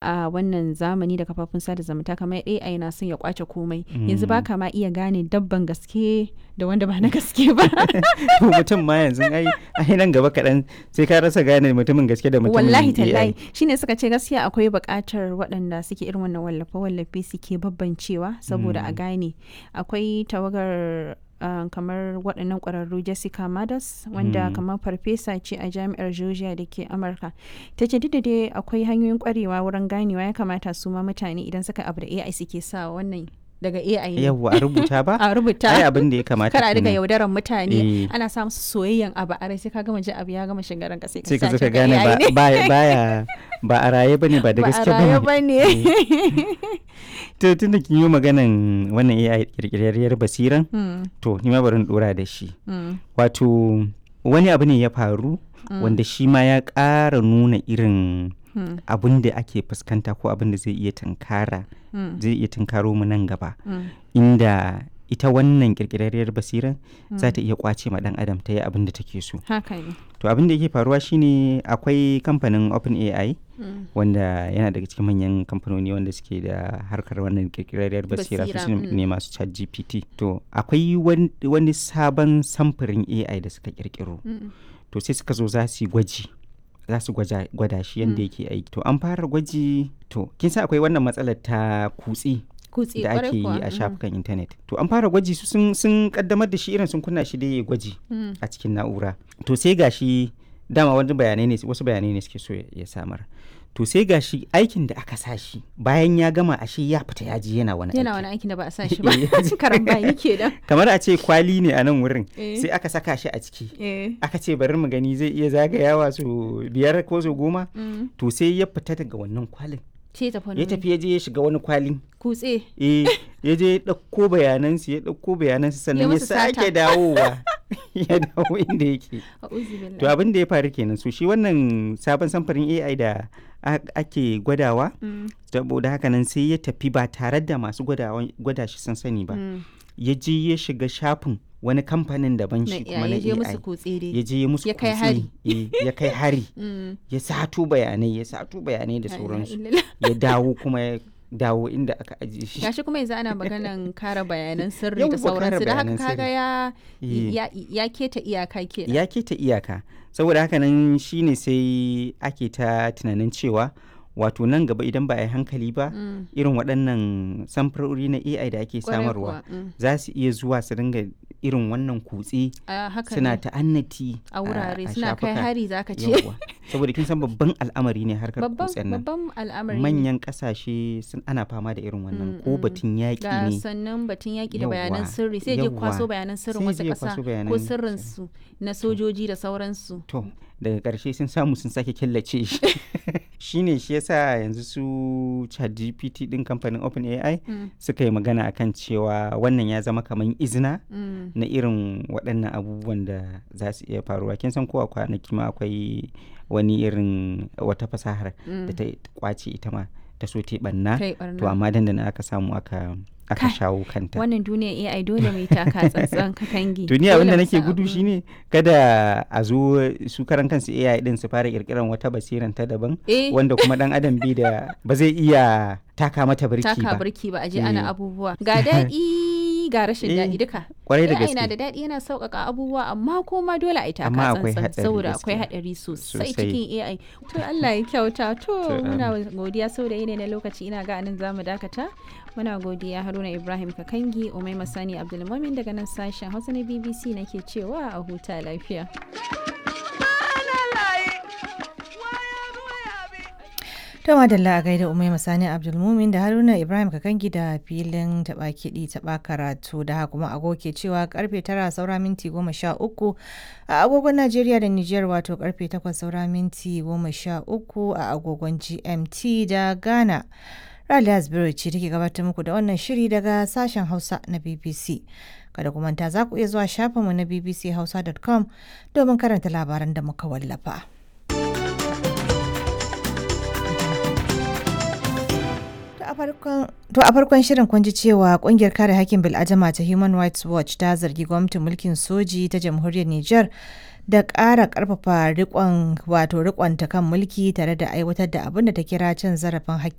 A wannan zamani da kafafun sada zumunta, kamar AI na son ya kwace komai. Yanzu ba ka ma iya gane dabban gaske da wanda ba na gaske ba. Mutum ma yanzu ai nan gaba kaɗan sai ka rasa gane mutumin gaske da mutumin Wallahi AI. tallahi, shine suka ce gaskiya akwai buƙatar waɗanda suke irin wannan wallafe-wallafe suke babbancewa saboda a gane. Akwai tawagar kamar waɗannan ƙwararru, Jessica Madas, wanda kamar farfesa ce a jami'ar Georgia da ke Amurka, ta ce duk da dai akwai hanyoyin ƙwarewa wurin ganewa, ya kamata su ma mutane idan suka abu da AI suke sa wannan daga AI ne. Yawwa, a rubuta ba? A rubuta. Ai abin da ya kamata Kar a dinga kenan. yaudaran mutane. Eh. Ana sa musu soyayyen abu a rai, sai ka gama ji abu ya gama shiga ranka, sai ka Sai ka zo sace ka gane AI ba ne. ba baya ba a raye bane, ba da Ba a gaske raye bane. bane. To, tun da kin yi maganan wannan AI, kirkirarriyar basiran, to ni ma bari in dora da shi. Wato wani abu ne ya faru wanda shi ma ya ƙara nuna irin abun da ake fuskanta ko abin da zai iya tunkara, zai iya tunkaro mu nan gaba, inda ita wannan kirkirarriyar basiran za ta iya kwace ma dan adam ta yi abin da take so. Haka ne. To, abin da yake faruwa shine akwai kamfanin OpenAI, wanda yana daga cikin manyan kamfanoni wanda suke da harkar wannan kirkirarriyar basira, su Basira, ne masu ChatGPT. To, akwai wani sabon samfurin AI da suka kirkiro. To, sai suka zo za su yi gwaji, za su gwada shi yadda yake aiki. To, an fara gwaji. To, kin san akwai wannan matsalar ta kutse Kutse, da kwarai ake kuwa. yi a shafukan intanet. To, an fara gwaji, su sun kaddamar da shi, irin sun kunna shi da ya gwaji a cikin na'ura. To, sai gashi dama wani bayanai ne, wasu bayanai ne suke so ya samar. To, sai gashi aikin da aka sa shi, bayan ya gama, ashe ya fita ya je yana wani Yana aiki. wani aikin da ba a sa shi ba. Eh, ya ji. Karambani kenan. Kamar a ce kwali ne a nan wurin, Eh. sai aka saka shi a ciki. Eh. Aka ce bari mu gani zai iya zagayawa su 5 ko su 10. To, sai ya fita daga wannan kwalin. Ce tafi wani Ya wuri. tafi ya je ya shiga wani kwalin. Kutse. Eh, ya je ya ɗauko bayanansu, ya ɗauko bayanansu, sannan ya musu sata. sake dawowa, ya dawo inda yake. A'udhu billahi. To, abin da ya faru kenan. So shi wannan sabon samfurin AI da ake gwadawa, saboda haka nan sai ya tafi ba tare da masu gwada shi sun sani ba, ya je ya shiga shafin wani kamfanin daban, Na shi kuma AI na ya je musu AI, kutse dai. ya je ya musu Ya kai kutse, hari. eh, ya kai hari, ya sato bayanai, ya sato bayanai da La ilaha sauransu, illallah. ya dawo kuma ya dawo inda aka ajiye shi. Gashi kuma yanzu ana maganan kare bayanan sirri da Yawwa, kare sauransu, da haka bayanan kaga sirri. ya Eh. ya keta iyaka kenan. Ya keta iyaka. Saboda haka nan shine sai ake ta tunanin cewa wato nan gaba idan ba a yi hankali ba, irin waɗannan samfurori na AI da ake Kwarai samarwa kuwa, za su iya zuwa su dinga irin wannan kutse, A haka suna ne. ta'annati A wurare a suna kai shafuka. hari zaka ce. Yawwa. Saboda kin san babban al'amari ne harkar Babban kutsen nan. babban al'amari ne. Manyan ƙasashe sun ana fama da irin wannan, ko batun yaƙi Ga ne. sannan batun yaƙi da bayanan Yawwa, sirri, sai je yawwa. kwaso bayanan sirrin Sai wasu je ya ƙasa kwaso ko bayanan sirrin su na sojoji da sauransu. To, daga ƙarshe sun samu sun sake killace shi. Shine shi yasa yanzu su ChatGPT ɗin kamfanin OpenAI suka yi magana akan cewa wannan ya zama kamar izina na irin waɗannan abubuwan da za su iya faruwa. Kin san ko a kwanaki ma akwai wani irin wata fasahar da ta kwace ita ma, ta so ta yi ɓanna. Ta yi To, ɓarna. amma dandana aka samu aka Kai, shawo kanta. wannan duniyar AI dole mai taka tsantsan, kakangi. To, ni abin Dole da mu nake san gudu abu. shine kada a zo su karan kansu AI din su fara kirkiran wata basiran ta daban, Eh. wanda kuma dan adam bi da ba zai iya taka mata birki Taka ba. birki ba, a je ana Eh. abubuwa. Ga daɗi ga rashin Eh, daɗi duka. Kwarai da AI na gaske. da daɗi, yana sauƙaƙa abubuwa, amma kuma dole a yi taka Amma akwai tsantsan hatsari saboda akwai gaskiya. haɗari sosai Sosai. cikin AI. To, Allah ya kyauta. To, To, muna godiya saboda yanayi na lokaci, ina ga anan zamu dakata. Muna godiya Haruna Ibrahim Kakangi, Umaima Sani Abdulmumin daga nan sashen Hausa na BBC nake cewa a huta lafiya. To madalla, a gaida Umaima Sani Abdulmumin da Haruna Ibrahim Kakangi da filin taɓa kiɗi taɓa karatu. Da haka kuma agogo ke cewa karfe 8:43 a agogon Najeriya da Nijar, wato karfe 8:43 a agogon GMT da Ghana. Raliya Asbiru ce take gabatar muku da wannan shiri daga sashen Hausa na BBC. Kada ku manta, za ku iya zuwa shafinmu na bbchausa.com domin karanta labaran da muka wallafa. To, a farkon shirin kun ji cewa kungiyar kare hakkin bil'adama ta Human Rights Watch ta zargi gwamnatin mulkin soji ta jamhuriyar Nijar da ƙara ƙarfafa riƙon wato riƙonta kan mulki tare da aiwatar da abin da ta kira cin zarafin hakkin